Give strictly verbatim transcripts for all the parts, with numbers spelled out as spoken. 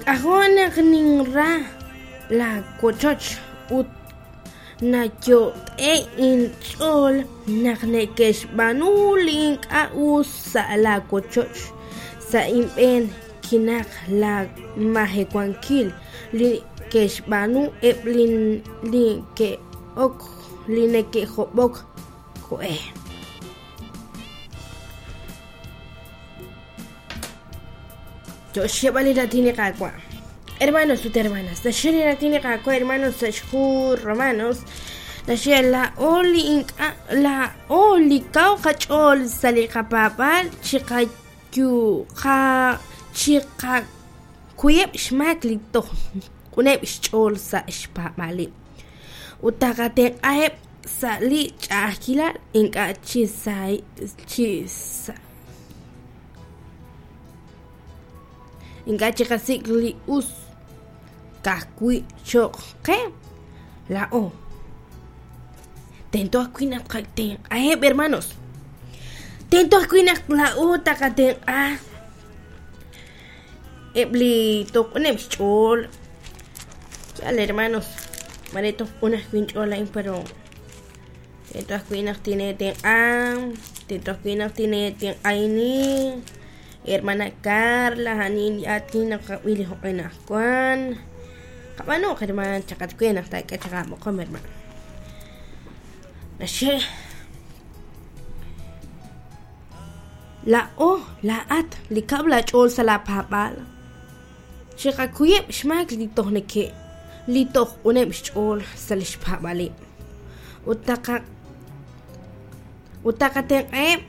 K'ajo' naq ninra laawochoch ut nayot'e'k inch'ool naq neke'xb'aanu li ink'a' us sa' laawochoch. Sa' inb'een kinaqk laamajewankil li ke'xb'aanu eb' li neke'hob'ok we. Yo xyeeb'al li raatin li Qaawa'. Hermanos ut hermanas, naxye li raatin li Qaawa', hermanos, sa' xhu Romanos, naxye laa'o li ink'a' laa'o li kaw qach'ool sa' li qapaab'aal chiqakuyeb' xmaak li toj q'uneb' xch'ool sa' xpaab'aaleb' ut taqatenq'aheb' sa' li ch'a'ajkilal ink'a' chi chi sa ink'a' chiqasik' li us ka'ajwi' cho'q qe laa'o. Tento ajwi' naq tqatenq'aheb', hermanos. Tento ajwi' naq laa'o taqatenq'a eb' li toj q'uneb' xch'ool. Yaal, hermanos, mare toj q'un ajwi' inch'ool laa'in, pero tento ajwi' naq tineetenq'a, tento ajwi' naq tineetenq'ahini. Hermana Carla, a'anin li aatin naqab'i li joq'e anaqwan. Qab'aanuq, hermana, chaqat we naq taak'e chaq aab'oqom, hermana. Naxye laa'o laa'at li kaw laach'ool sa' laapaab'aal chiqakuyeb' xmaak li toj neke' li toj q'uneb' xch'ool sa' li xpaab'aaleb' ut taqa ut taqatenq'aheb'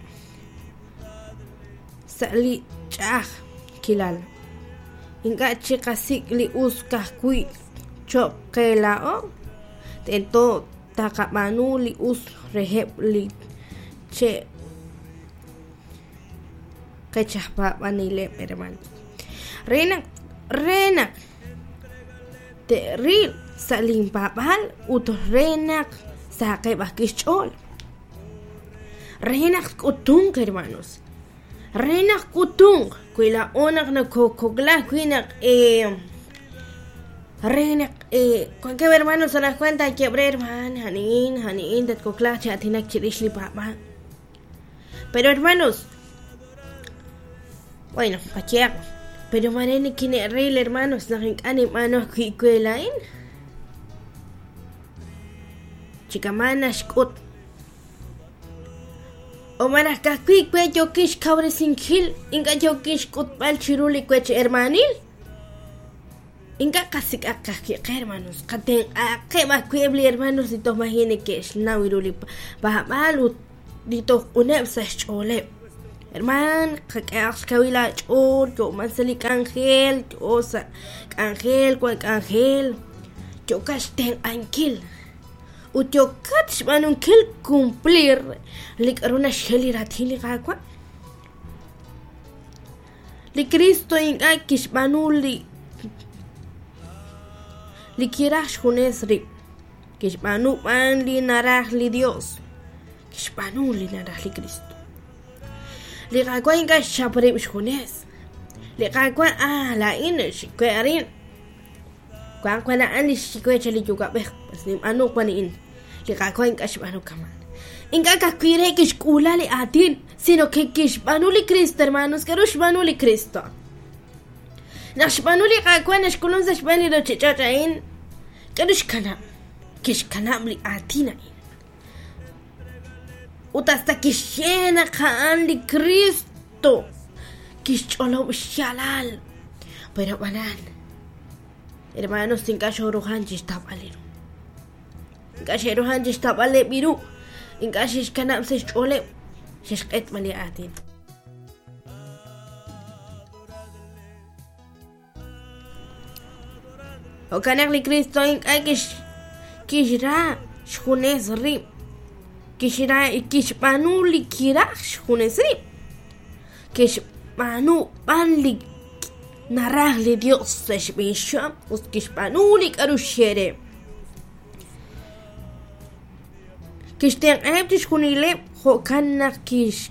sa' li ch'a'ajkilal. Ink'a' chiqasik' li us ka'ajwi' cho'q qe laa'o, tento taqab'aanu li us reheb' li che qech aj paab'aneleb', hermanos. Re naq re naq te'ril sa' linpaab'aal ut re naq sahaqeb' ajwi' xch'ool. Re naq k'utunq, hermanos. Re naq k'utunq wi laa'o naq nokokokla ajwi' naq re naq wankeb' hermanos anaqwan taayeb' re hermana a'aniin a'aniin tatkoklaaq chi aatinak chirix li paab'aal. Pero hermanos, bueno, qayehaq, pero mare nikine'ril, hermanos, naq ink'a' ninb'aanu ajwi' we laa'in. Chi kama' naxk'ut. O malaj ka'ajwi' we yookin xkawresinkil, ink'a' yookin xk'utb'al chiru li wech hermanil. Ink'a' qasik'aq ka'ajwi' qe, hermanos, qatenq'aqeb' ajwi' eb' li hermanos li toj maji' neke'xnaw ru li paab'aal ut li toj q'uneb' sa' xch'ooleb'. Herman, qak'ehaq xkawil aach'ool, yo'man sa' li k'anjel, yo sa' k'anjel, wan k'anjel, yookat xtenq'ankil ut yookat xb'aanunkil cumplir li k'aru naxye li raatin li Qaawa'. Li Cristo ink'a' kixb'aanu li li kiraj xjunes rib', kixb'aanu b'an li naraj li Dios, kixb'aanu li naraj li Cristo. Li Qaawa' ink'a' xchap rib' xjunes. Li Qaawa' ah laa'in xwe arin. Wan wan a'an li xwe cha li yuwa'b'ej, pues ninb'aanu wan a'in. Li Qaawa' ink'a' xb'aanu kama'. Ink'a' ka'ajwi' re kixk'uula li aatin, sino que kixb'aanu li Cristo, hermanos. K'aru xb'aanu li Cristo? Naq xb'aanu li Qaawa' naxk'ulun sa' xb'een li ruuchich'och' a'in, k'aru xkanab'? Kixkanab' li aatin a'in. Ut hasta kixye naq a'an li Cristo kixch'olob' xyaalal. Pero b'anan, hermanos, ink'a' xooruhan chixtawb'al ru. Ink'a' xe'ruhan chixtawb'aleb' ru. Ink'a' xe'xkanab' sa' xch'ooleb' xe'xq'etb'al li aatin. Jo'kan naq li Cristo ink'a' kix kixra xjunes rib'. Kixra kixb'aanu li kiraj xjunes rib'. Kixb'aanu b'an li naraj li Dios sa' xb'een xyu'am ut kixb'aanu li k'aru xye re. Kixtenq'aheb' chixjunileb' jo'kan naq kix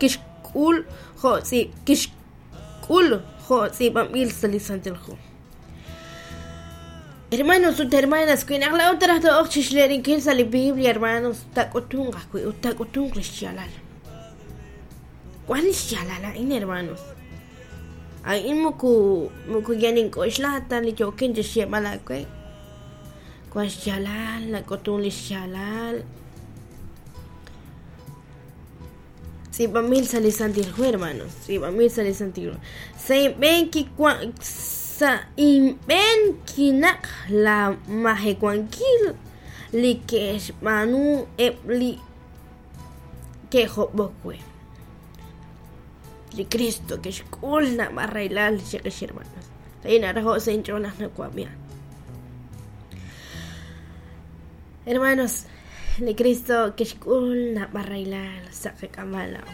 kixk'ul jo' tz'iib' kixk'ul kixk'ul jo' tz'iib'anb'il sa' li Santil Hu. Hermanos ut hermanas, wi naq laa'o taraj to'oq chixleerinkil sa' li Biblia, hermanos, taak'utunq ajwi' ut taak'utunq li xyaalal. Wan li xyaalal a'in, hermanos. A'in moko moko yal nink'oxla ta li yookin chixyeeb'al aawe. Wan xyaalal, nak'utun li xyaalal. Tz'iib'anb'il sa' li Santil Hu, hermanos. Tz'iib'anb'il sa' li Santil Hu. Sa' inb'een kiwan sa' inb'een kinaq la majewankil li ke'xb'aanu eb' li ke'job'ok we. Li Cristo kixk'ul naab'al rahilal chiqix, hermanos. A'in naraho' sa' inch'ool naq nawab'i. Hermanos, li Cristo kixk'ul naab'al rahilal sa' qak'ab'a' laa'o.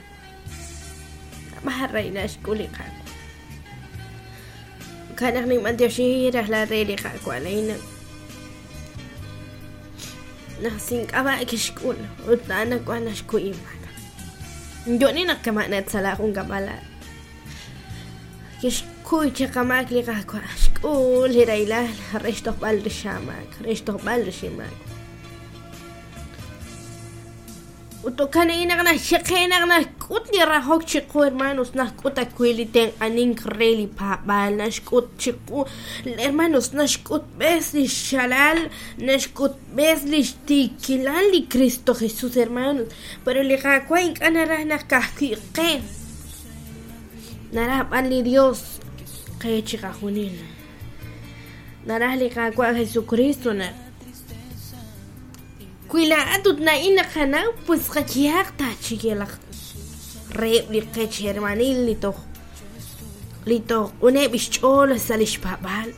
Naab'al rahilal xk'ul li Qaawa'. Jo'kan naq ninb'antioxi rajlal re li Qaawa' a'in naq sink'ab'a' kixk'ul ut a'an wan naxkuy inmaak. Yo'ni naq kama' natzala jun kab'ala. Kixkuy chaq qamaak li Qaawa', xk'ul li rahilal re xtojb'al rix aamaak, re xtojb'al rix inmaak. Ut jo'kan a'in naq naxyeqe naq naxk'ut li rajok chiqu, hermanos, naxk'ut ajwi' li tenq'anink re li paab'aal, naxk'ut chiqu, hermanos, naxk'ut b'es li xxalal, naxk'ut b'es li xtiikilal li Cristo Jesús, hermanos. Pero li Qaawa' ink'a' naraj naq ka'ajwi' qe, naraj b'an li Dios qe chiqajunil. Naraj li Qaawa' Jesucristo naq wi laa'at ut na'in naqanaw, pues qayehaq taachiyelaq reheb' li qech hermanil li toj li toj q'uneb' xch'ool sa' li xpaab'aal.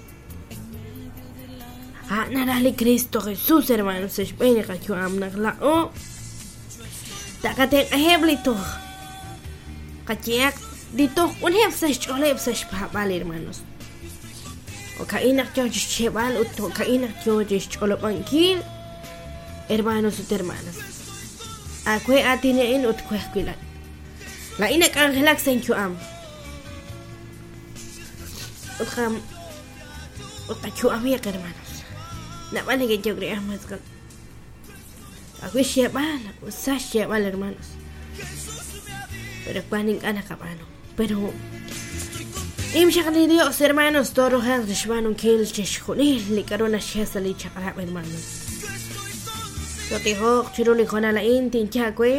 A'an naraj li Cristo Jesús, hermanos, sa' xb'een li qayu'am naq laa'o taqatenq'aheb' li toj qayehaq li toj q'uneb' sa' xch'ooleb' sa' xpaab'aal, hermanos. Jo'ka'in naq yoo chixcheeb'al ut jo'ka'in naq yoo chixch'olob'ankil, hermanos ut hermanas. Aawe aatin a'in ut we ajwi' laa'in. Laa'in nak'anjelak sa' inyu'am. Ut qam ut qayu'amiq, hermanos. Naab'al neke'yok re mas qa ajwi' xyeeb'al, ut sa xyeeb'al, hermanos. Pero wan ink'a' naqab'aanu. Pero im xaq li Dios, hermanos, tooruhanq chixb'aanunkil chixjunil li k'a'ru naxye sa' li chaq'rab', hermanos. Totijoq chiru li hoonal a'in tinye aawe.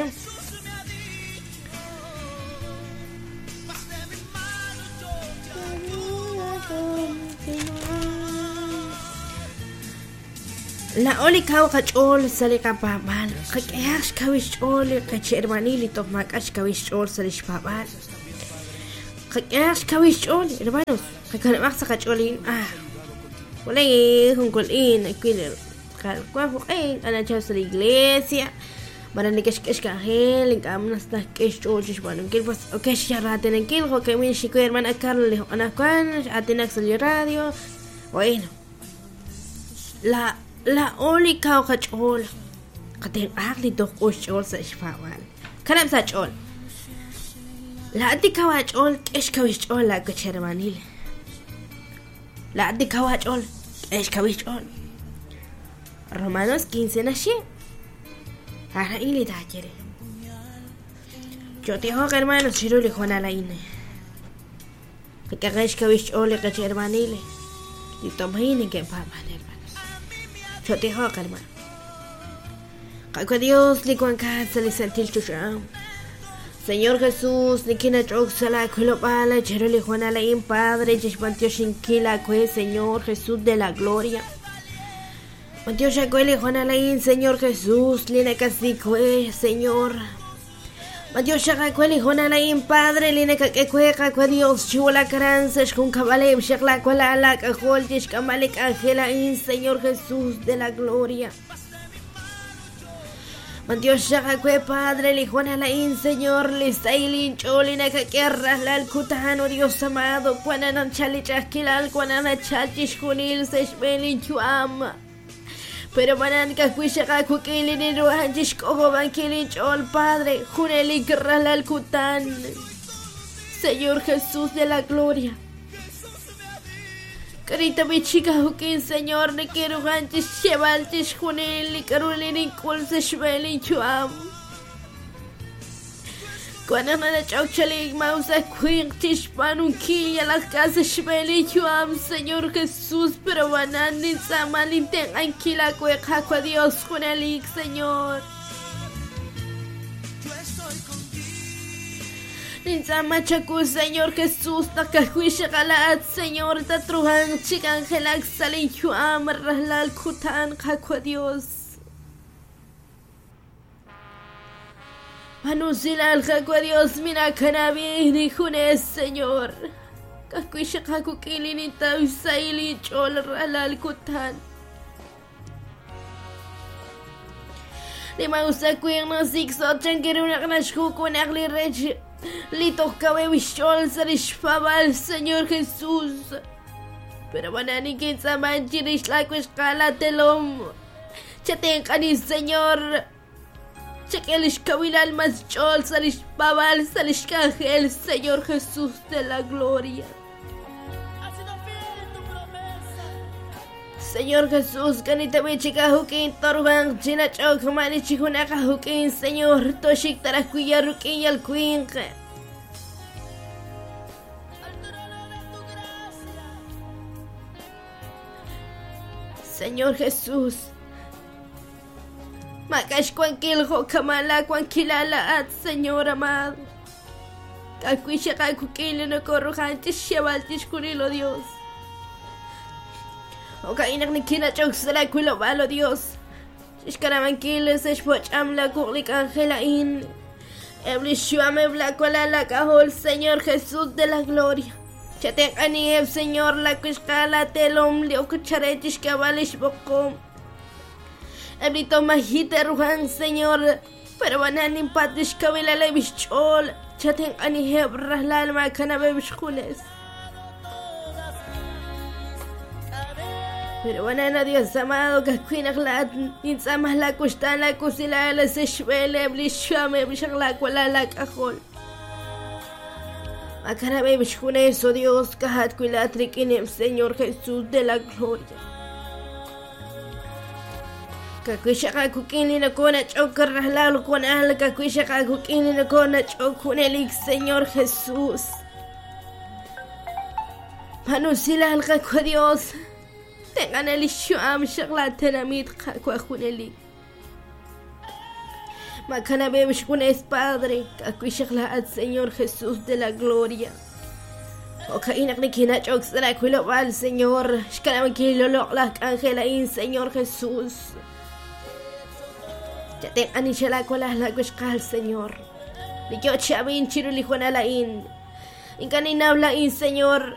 Laa'o li kaw qach'ool sa' li qapaab'aal, qak'ehaq xkawil xch'ool li qech hermanil li toj maak'a' xkawil xch'ool sa' li xpaab'aal. Qak'ehaq xkawil xch'ool, hermanos, qakanab'aq sa' qach'ool a'in. Ah, walay jun kul'in ajwi' wan jo'q'e ink'a' nachal sa' li iglesia, malaj neke'xk'e xk'anjel, ink'a' mas naxk'e xch'ool chixb'aanunkil, pues ok xraatinankil, jo'ka'in xikuy hermana Carla li anaqwan x'aatinak sa' li radio. Bueno, la laa'o li kaw qach'ool, qatenq'aq li toj q'un xch'ool sa' xpaab'aal. Kanab' sa' ch'ool. Laa'at li kaw aach'ool, k'e xkawil xch'ool laawech hermanil. Laa'at li kaw aach'ool, k'e xkawil xch'ool. Romanos quince naxye. A'in li taaye re. Chotijoq, hermanos, chiru li hoonal a'in. Qak'e xkawil xch'ool li qech hermanil. Li tomayin neke'paab'an, hermanos. Chotijoq, hermano. Qaawa' Dios li wankat sa' li santil choxa. Señor Jesús, nikinach'ok sa' laakilob'aal chiru li hoonal a'in, Padre, chixb'antioxinkil aawe, Señor Jesús de la gloria. B'antiox aawe li hoonal a'in, Señor Jesús, li nakasik we, Señor. B'antiox aawe li hoonal a'in, Padre, li nakak'e we, Qaawa' Dios, chiwulak aran sa' xjunkab'aleb' xaq laawalal laak'ajol chixk'amb'al li k'anjel a'in, Señor Jesús de la gloria. B'antiox aawe, Padre, li hoonal a'in, Señor, li sahil inch'ool li nakak'e rajlal kutan, oh Dios amado, wan anachal li ch'a'ajkilal, wan anachal chixjunil sa' xb'een linyu'am. Pero manan ka'ajwi' xaq aawik'in li ninruhan chixk'ojob'ankil inch'ool, Padre, junelik rajlal kutan. Señor Jesús de la gloria. Karita bichika hukin, Señor, ne quiero ganchis chevaltis junil, carolina kulse shveli chuam. Cuando me chauchalik mausa quintish panunquilla las casas shveli chuam, Señor Jesús, pero banani samalinte anquila cueja Dios junelik, Señor. Nintzamachaku, Señor Jesús, nakahuixakalat, Señor, tatruhan, chikangelak, salinchuam, rahlal, kutan, kakua Dios. Manusilal, kakua Dios, minakanabi, nijunes, Señor. Kakuixakakukilin, tausaili, chol, rahlal, kutan. Limausakuin, zixo, chanquerunaknashkuku, nakli rech. Litokawe wishol sarishfabal, Señor Jesús. Pero banani kinsamanchirishlakuishkala telom. Chatenkani, Señor. Chekelishkawilal maschol sarishfabal sarishkangel, Señor Jesús de la gloria. Señor Jesús, kanita bichika hukin torban, china chok mani chihunaka hukin, Señor, toshik tarakuya rukin yalkuinke. Señor Jesús, makash kuankil kamala kuankilala at, Señor amado. Kakuisha kakukili no korrujantis shevaltis kurilo Dios. Okainak ni kinachok sala kulobalo Dios. Ishkaramankiles eshpoch amla kuklik angelain. Eblishuame blakola la cajol, Señor Jesús de la gloria. Chatenkanieb, Señor, la kuishkala telom liokucharetish kabalish bokom. Eblito majite rujan, Señor. Pero bananin patish kabila lebischol. Chatenkaniheb rahlal makanabebishkules. Pero banana Dios amado, kakuinaklat, nintzamah la kustan la kusila la seshvele, blishame, blishakla kuala la kajol. Makanabe bishkuneso Dios, kahat kuilatrikinem, Señor Jesús de la gloria. Kakuishaka kukini na kona chokarrahlal konal, kakuishaka kukini na kona chokunelik, Señor Jesús. Manusila al Dios. Tengan el shuam shakla tenamit kakuajunelik. Makanabe bishkunes Padre, kakuishakla al Señor Jesús de la gloria. Okainak nikinach oxra kuilobal, Señor. Shkalamakilolok angelain, Señor Jesús. Ya te anishala kolas la kuishkal, Señor. Ni yo chabin chirulijuanalain. Inkaninablain, Señor.